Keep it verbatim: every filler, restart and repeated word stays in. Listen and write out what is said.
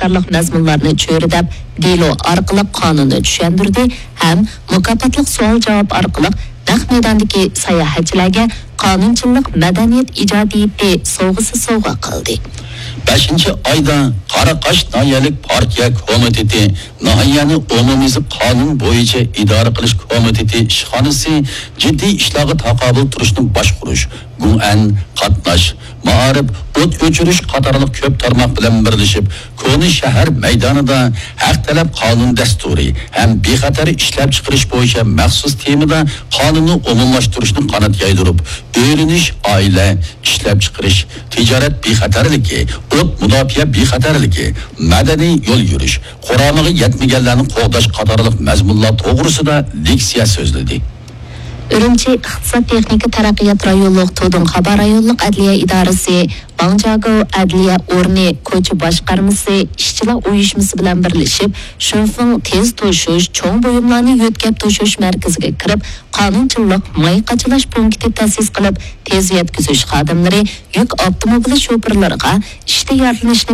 قاتارلىق مەزمۇنلارنى چۆرىدەپ، دېلو ئارقىلىق قانۇننى چۈشەندۈردى ھەم مۇكاپاتلىق سوئال-جاۋاب ئارقىلىق نەق مەيداندىكى ساياھەتچىلەرگە قانۇنچىللىق مەدەنىيەت ئىجادىيىتى سوۋغىسى سوۋغا قىلدى. بەشىنچى ئايدا قاراقاش ناھىيەلىك پارتىيە كومىتېتى ناھىيەنى ئومۇميۈزلۈك قانۇن بويىچە ئىدارە قىلىش كومىتېتى ئىشخانىسى جىددىي ئىشلارغا تاقابىل تۇرۇشنى باشقۇرۇش، گۇڭئەن، قاتناش، مائارىپ، ئوت ئۆچۈرۈش قاتارلىق كۆپ تارماق بىلەن بىرلىشىپ، كونا شەھەر مەيدانىدا ھەق تەلەپ قانۇن دەستۇرى ھەم بىخەتەر ئىشلەپچىقىرىش بويىچە مەخسۇس تېمىدا قانۇننى ئومۇملاشتۇرۇشنى قانات يايدۇرۇپ، ئۆيلىنىش، ئائىلە، ئىشلەپچىقىرىش، تىجارەت بىخەتەرلىكى، ئوت مۇداپىئە بىخەتەرلىكى، مەدەنىي يول يۈرۈش، قۇرامىغا يەتمىگەنلەرنى قوغداش قاتارلىق مەزمۇنلار توغرىسىدا لېكسىيە سۆزلىدى. ئۈرۈمچى ئىقتىساد تېخنىكا تەرەققىيات رايونلۇق تۇدۇڭخابا رايونلۇق ئەدلىيە ئىدارىسى، ۋاڭجياگو ئەدلىيە ئورنى كوچا باشقارمىسى ئىشچىلار ئۇيۇشمىسى بىلەن بىرلىشىپ، شۈنفېڭ تېز توشۇش چوڭ بۇيۇملارنى يۆتكەپ توشۇش مەركىزىگە كىرىپ، قانۇنچىللىق ماي قاچىلاش پونكىتى تەسىس قىلىپ، تېز يەتكۈزۈش خادىملىرى، يۈك ئاپتوموبىلى شوپۇرلىرىغا ئىشتا يارىلىنىشنى